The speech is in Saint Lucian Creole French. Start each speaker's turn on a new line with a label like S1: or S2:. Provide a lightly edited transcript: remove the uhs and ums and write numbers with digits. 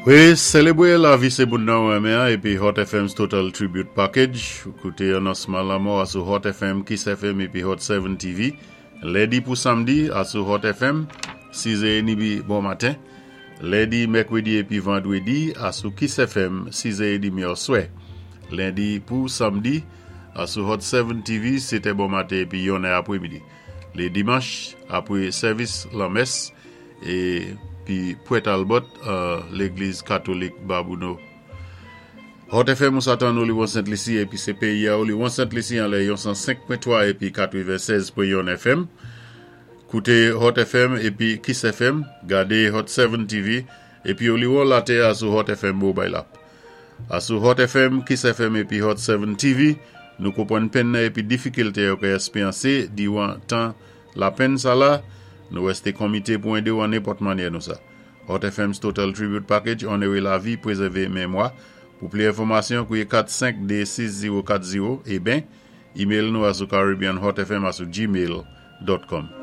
S1: Wi, sélébwé lavi sé moun nan ou renmen an épi Hot FM's Total Tribute Package. Ou kouté anonsman lanmò asou Hot FM, Kiss FM épi Hot 7 TV. Lendi pou samdi asou Hot FM, 6 è édmi bon maten. Lendi, mèkwédi épi vandwédi asou Kiss FM, 6 è édmi oswè. Lendi pou samdi asou Hot 7 TV, 7 è bon maten épi 1 è apwémidi. Lé dimanch apwé sèvis lanmès épi Pwè Talbot Légliz Katolik Babouno. Hot FM ou sa tann Oliwon Sent Lisi épi sé péyi a Oliwon Sent Lisi anlè yon 105.3 épi 96.1 FM. Kouté Hot FM épi Kiss FM, gadé Hot 7 TV épi Oliwon latè a sou Hot FM Mobile App. Asou Hot FM, Kiss FM épi Hot 7 TV, nou konpwann penn nan épi difikilté yo ka èspéyansé diwan tan lapenn sa la, nou wèsté konmité pou édé-w an nenpòt mannyè nou sa. Hot FM's Total Tribute Package onoré lavi, pwézèvé menmwa. Pou pli enfòmasyon, kouwé 4 5 2 6 0 4 0 é ben, email nou asou caribbeanhotfm@gmail.com.